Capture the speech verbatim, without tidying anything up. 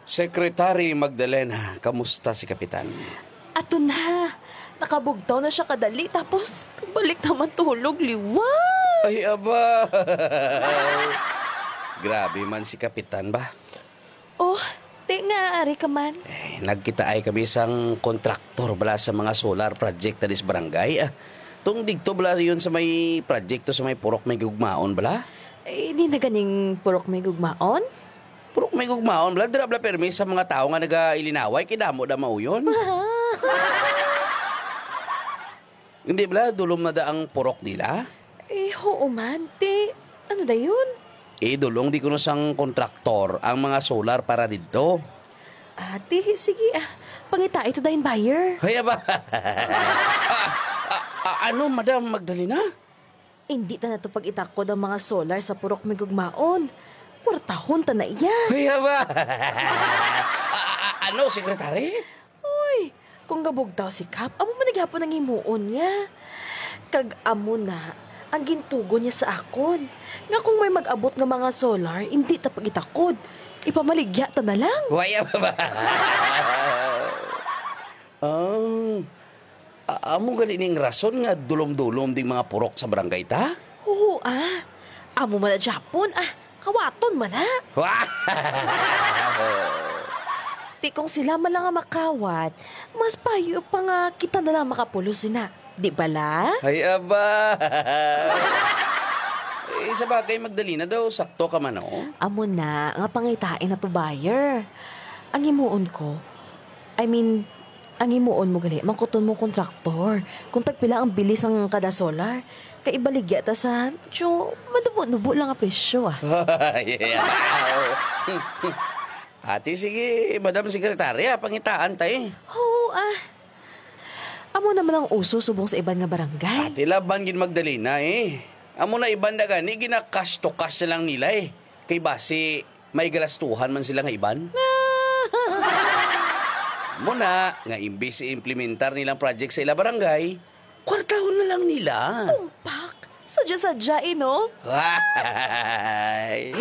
Secretary Magdalena, kamusta si Kapitan? Ato na. Nakabugtaw na siya kadali, tapos balik naman tulog, liwat. Ay, aba. Grabe man si Kapitan ba? Oh, ti nga, ari ka man. Eh, nagkitaay kami sang kontraktor bala sa mga solar project diri sa barangay, ah. Tung digto bala yun sa may proyekto sa may Purok May Gugmaon bala? Eh, di na ganing Purok May Gugmaon? Purok May Gugmaon bala, dira bala permi sa mga tawo nga nagailinaway, kay damo da mauyon. Hindi bala, dulom na da ang purok nila? Eh, oo man. Ti, ano dayon? Idulong di kuno sang kontraktor ang mga solar para didto. Ah, ti, sige, ah. Pangitai to dayon, buyer. Hay, aba. Ah, ah, ah, ano, Madam Magdalena? Hindi ta na to pag-itakod ang mga solar sa Purok May Gugmaon. Kwartahon ta na iya. Hay, aba. Ah, ah, ah, ano, Secretary? Uy, kung gabugtaw si Kap, amo man gihapon ang himuon niya. Kag amo na ang gintugon niya sa akon, nga kung may mag-abot nga mga solar, hindi ta pag-itakod. Ipamaligya ta na lang. Waya ba? Ah, a- amo gani ning rason nga dulom-dulom ding mga purok sa barangay ta? Oo, ah. Amo man na Japon, ah. Kawaton man na. Wow! Ti kung sila man lang ang makawat, mas payo pa nga kita na lang makapulos sina. Di bala? Ay, aba! Eh, sa bagay, Magdalena daw, sakto ka man, oh. Amo na, nga pangitain na to buyer. Ang himuon ko, I mean, ang himuon mo gali, mangkuton mo kontraktor kung tagpila ang bili sang kada solar. Kay ibaligya ta sa, medyo manubo-nubo lang ang presyo, ah. Yeah. Ate, sige, Madam Sekretarya, pangitaan ta, eh. Oo, ah. Amo naman ang uso subong sa iban nga barangay. Ate, laban gid, Magdalena, eh. Amo na, iban na gani, gina-cash to cash na lang nila, eh. Kay basi, may galastuhan man sila nga iban. Amo na, nga imbis i-implementar nilang project sa ila barangay, kwartahon na lang nila. Tumpak! Sadya-sadya, eh, no? Ay!